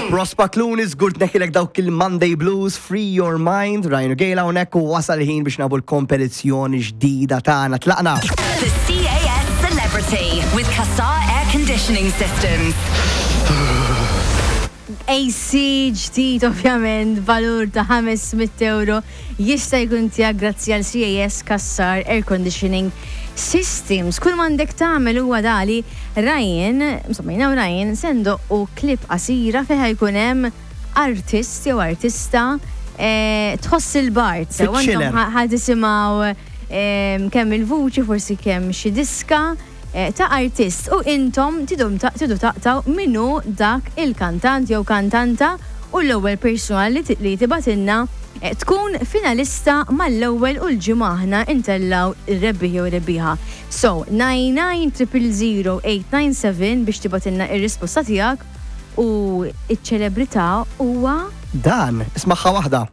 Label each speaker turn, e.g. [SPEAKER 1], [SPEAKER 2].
[SPEAKER 1] Prospa Clooney żgur tneħħilek dawk il-Monday Blues, Free Your Mind, Ryan u Gail hawnhekk u wasal il-ħin biex nagħbu l-kompetizzjoni ġdida tagħna. Tlaqna!
[SPEAKER 2] The CAS Celebrity with Cassar Air Conditioning Systems.
[SPEAKER 3] AC ġdid ovvjament valur ta' 500 euro jista' jkun tiegħek grazzi għal CAS Cassar Air Conditioning Systems. Kull m'għandek tagħmel huwa dali Ryan, insomma jiena u Ryan se ndoqqu clip qasira fejn ħa jkun hemm artist jew artista eh, tħoss il-bard. Sew intom ħa tisimgħu eh, kemm il-vuċi, forsi kemm xi diska eh, ta' artist u intom tidu taqtaw minnu dak il-kantant jew kantanta u l-ewwel persuna li tibgħatilna tkun finalista mal-ewwel u l-ġimgħa aħna ntellgħu r-rebbieħ jew rebbieħa. So, 99 897 biex tibgħatilna ir-risposta tiegħek u ċ-ċelebrità huwa.
[SPEAKER 1] Dan, ismagħha waħda.